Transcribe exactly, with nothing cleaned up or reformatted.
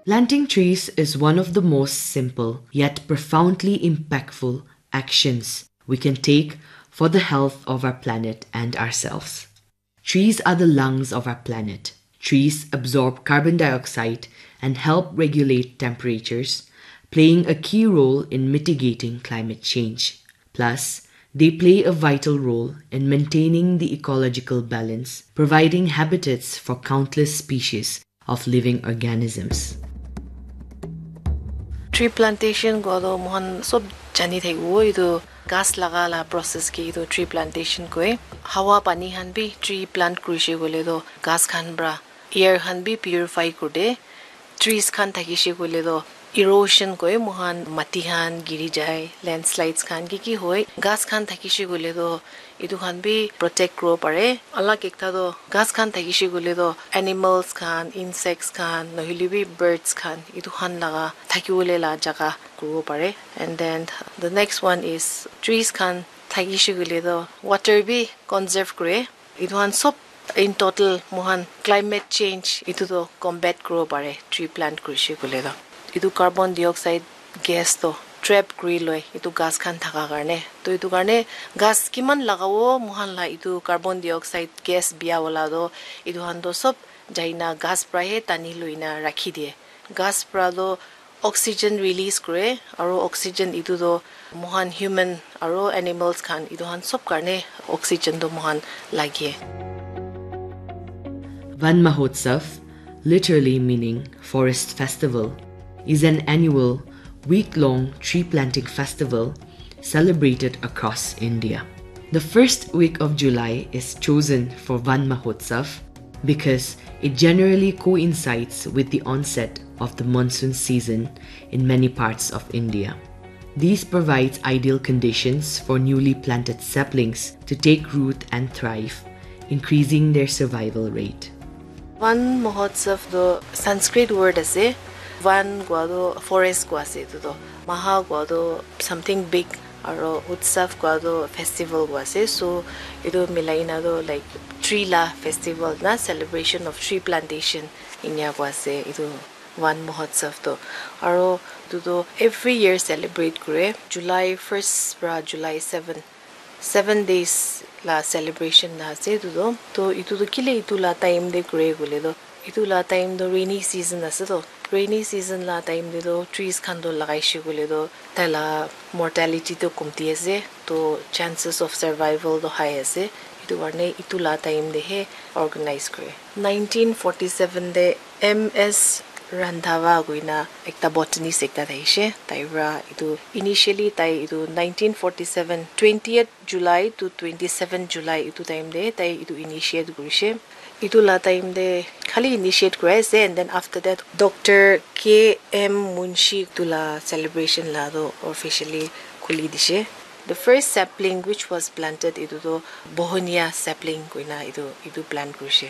Planting trees is one of the most simple yet profoundly impactful actions we can take for the health of our planet and ourselves. Trees are the lungs of our planet. Trees absorb carbon dioxide and help regulate temperatures, playing a key role in mitigating climate change. Plus, they play a vital role in maintaining the ecological balance, providing habitats for countless species of living organisms. Tree plantation kua toh moikhan sob jani thakibo, etu ghas laga la process ke etu tree plantation koi. Hawa pani khan bi tree plant kurishe koile toh ghas khan pra air khan bi purify kurde. Trees khan thakishe koile toh erosion koi, moikhan mati khan giri jai, landslides khan ki ki hoi. Ghas khan thakishe koile toh etu khan bi protect kuribo pare. Alag ekta toh ghas khan thakishe koile toh animals khan, insects khan, nohoile bi birds khan, etu khan laga thakibole la jaga kuribo pare. And then the next one is trees khan thakishe koile toh water bi conserve kure. Etu khan sob in total moikhan climate change etu toh combat kuribo pare, tree plant kurishe koile toh. Etu carbon dioxide gas toh trap kuri loi etu ghas khan thaka karne. Toh etu karne ghas kiman lagabo, moikhan la etu carbon dioxide gas bia wala toh etu khan toh sob jaina ghas pra he tani loina rakhi diye. Ghas pra toh oxygen release kure, aro oxygen etu toh moikhan human aro animals khan etu khan sob karne oxygen toh moikhan lage. Van Mahotsav, literally meaning forest festival, is an annual week-long tree planting festival celebrated across India. The first week of July is chosen for Van Mahotsav because it generally coincides with the onset of the monsoon season in many parts of India. This provides ideal conditions for newly planted saplings to take root and thrive, increasing their survival rate. Van Mahotsav toh Sanskrit word ase. Van kua toh forest kua ase etu toh. Maha kua toh something big, aro Utsav kua toh festival kua ase. So etu milai na toh like tree la festival na celebration of tree plantation inia kua ase etu Van Mahotsav toh. Aro etu toh every year celebrate kure July first pra July seven. Seven days la celebration la ase etu toh. Toh etu toh kile etu la time te kure koile toh, etu la time toh rainy season ase toh. Rainy season la time te toh trees khan toh lagaishe koile toh tai la mortality toh komti ase. Toh chances of survival toh high ase. Etu karne etu la time te he organize kure. Nineteen forty-seven te M S Randhawa koina ekta botanist ekta thaishe. Tai pra etu initially tai etu nineteen forty-seven twentieth July to twenty-seven July etu time te tai etu initiate kurishe. Etu la time te khali initiate kurai ase, and then after that Doctor K M Munshi etu la celebration la toh officially khuli dishe. The first sapling which was planted etu toh Bohonia sapling koina etu, etu plant kurishe.